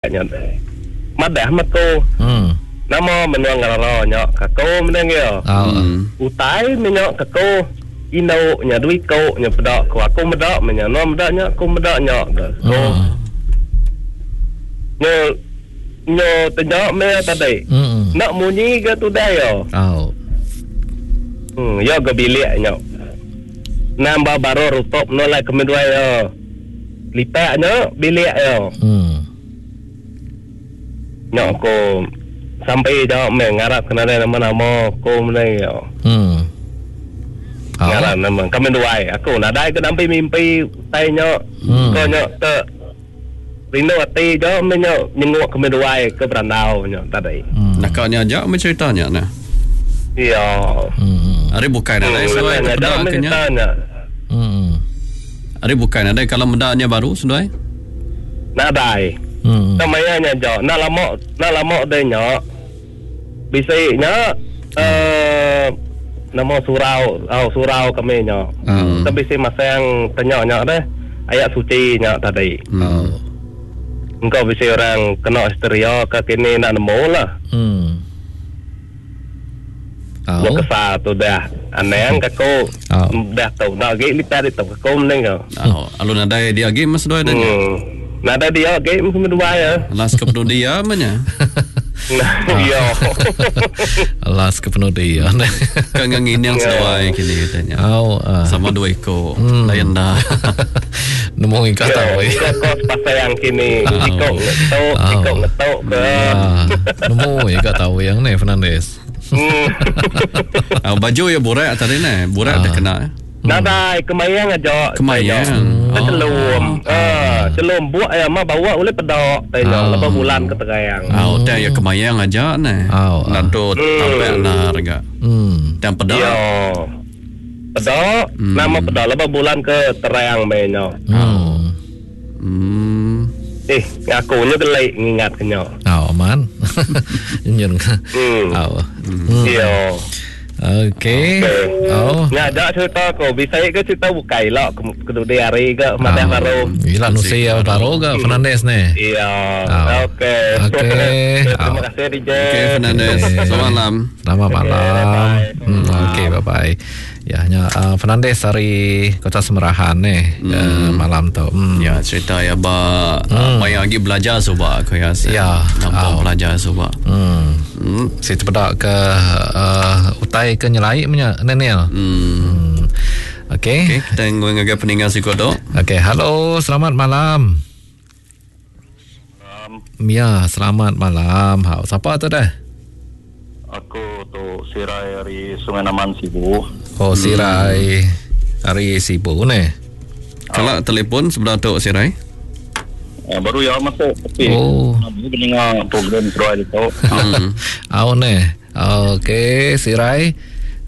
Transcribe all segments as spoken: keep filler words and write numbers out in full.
Nya madah mako. Hmm. Nama menua ngerara nya kako menang ya. Oh. Hmm. Utai menyo kako indu nya dui ko nya peda ko aku meda menya no meda nya aku meda nya ke. Ko Hmm. nyo nyo tanya me tadi. Hmm. Nak munyi ke tu dah ya. Oh. Hmm, ya ke bilik nya. Nambah baru rutop no lai kami dua ya. Lipat nya bilik ya. Hmm. Nya aku sampai dah me ngarap kena ada nama-nama aku menang ya. Hmm. Oh. Ngarap nama kami dua aku nadai ke nampi mimpi utai nya. Hmm. Ko nya te rindu ati jo me nya nyenguk kami dua ke berandau nya tadi. Hmm. Nakanya aja me ceritanya nah. Ya. Hmm. Hari bukan nadai Hmm, seduai nya terpeda dah me ke nya. cerita nya. Hmm. Hari bukan nadai kalau medanya baru seduai. Nadai. Hmm. Namanya nya jo. Nak lama nak lama deh nya. Bisi nya eh nama surau, oh, surau kami nya. Hmm. Tapi bisi masang tanya nya deh ayat suci nya tadi. Hmm. Oh. Engkau bisi orang kena histeria ke kini nak nemu lah. Hmm. Oh. Oh. Kesal tu dah. Anang aku Oh. dah tu. Nak lagi lipat itu aku mending kau. Oh, alu nadai dia lagi mas seduai dah nya. Hmm. Nada dia lagi mesti dua ya. Alas ke peduli dia menya. Ya. Alas ke penudi ya. Kan nginang seduai kini katanya. Oh. ah. Sama dua ekor. Lain dah. Nemu ikat Ya, tahu. eh. kau pasal yang kini. Ikut ngetuk, Oh. ikut ngetuk ke. Ah, nemu ikat tahu yang ni Fernandes. Hmm. Ah, baju ya burak tadi ni. Burak dah kena. eh. Nadai kemayang aja. Kemayang. Oh. Oh. Celum. Ah, celum buat ya mah bawa boleh pedok. Tanya Oh. lepas bulan ke terang. Ah, udah ya kemayang aja ni. Oh, ah. Nanti tampak nar ga. Hmm. Dan pedok. Ya. Pedok, nama pedok lepas bulan ke terang menyo. Hmm. Hmm. Eh, aku nya gelik ngingat kenyo. Oh, aman. Nyun. Hmm. Oh. Hmm. Ya. Okey. Oh. Nya ada cerita aku bisa ke cerita bukai lah ke ke hari ke madah Ah. baru. Gila nusi ya baru ke Fernandes ni. Iya. Ah. Okey. Okey. Terima kasih D J. Okey Fernandes. Okey. Selamat malam. Selamat Okey, malam. bye. Hmm, okey, bye bye. Ya, hanya uh, Fernandes dari Kota Semerahan ni hmm. uh, malam tu. Hmm. Ya cerita ya ba hmm. Maya lagi belajar soba aku ya. Ya. Nampak Oh. belajar soba. Hmm. Hmm. Si terpedak ke uh, utai ke nyelai punya Nenil. Hmm. Hmm. Okey. Okey, kita ngagai peninggal sikot tu. Okey, halo, selamat malam. Ya, selamat malam. Ha, siapa tu dah? Aku tu Sirai dari Sungai Naman Sibu. Oh, Sirai. Hari Sibu ni. Kalau telefon sebelah tu Sirai. Eh, baru ya masuk tapi Oh. aku mendengar program Sirai itu. Hmm. Au ni. Okey, Sirai.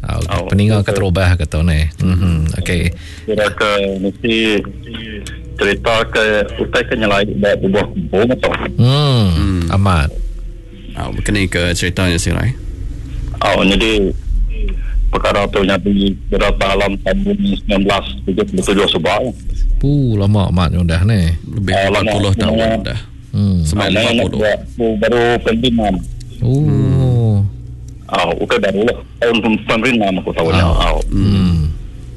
Au, Au, peninggal okey. keterubah kata ni. Mhm, okey. Kira ke mesti cerita ke utai ke nyelai buat buah kumpul atau. Hmm, amat. Ah, berkenaan ke ceritanya Sirai. Oh, jadi perkara tu jadi berapa alam tahun sembilan belas tujuh puluh tujuh sebab. Pu lama amat ni dah ni. Lebih Ah, lama. empat puluh tahun dah. Hmm. Sampai Ah, lima nak puluh. buat baru pendiman. Oh. Oh, bukan baru lah. Tahun pemerintah aku tahu nya. Oh. Hmm.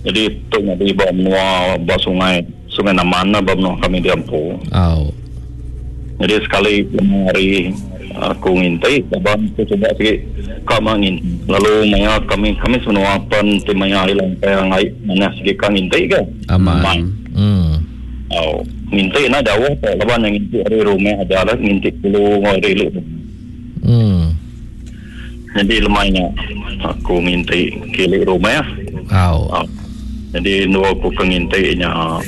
Jadi tu jadi bawa menua bawa sungai sungai Naman lah bawa menua kami di Ampu. Au. Jadi sekali lima hari aku ngintai, abang aku coba sikit kau mah ngin. Lalu maya kami kami semua pen ti maya hilang yang ai mana sikit kang ngintai ke. Aman. Mai. Hmm. Oh, ngintai na jauh tak laban yang ngintai dari rumah aja lah ngintai dulu ngoi dari lu. Hmm. Jadi lemainya aku ngintai kilik rumah. Au. Oh. Jadi dua aku ke ngintai nya uh,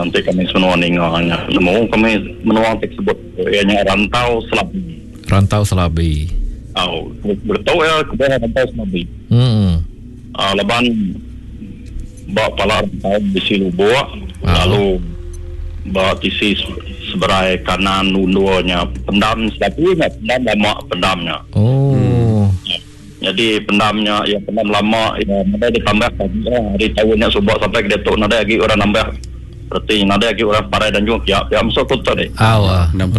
nanti kami semua ninganya. Nemu kami menua tersebut ianya rantau selabi. Rantau Selabi. Oh, betul ya kepada rantau selabi. Hmm. Uh, laban bawa pala rantau bisi lubuk Ah. lalu bawa tisi seberai kanan unduanya pendam selabi nya pendam lama pendamnya. Oh. Jadi pendamnya ya pendam lama ya ada ditambah lagi lah. Hari tahunnya subak sampai ke datuk ada lagi orang nambah Berarti nadai lagi orang parai dan juga pihak pihak masuk tu tadi. Au. Nama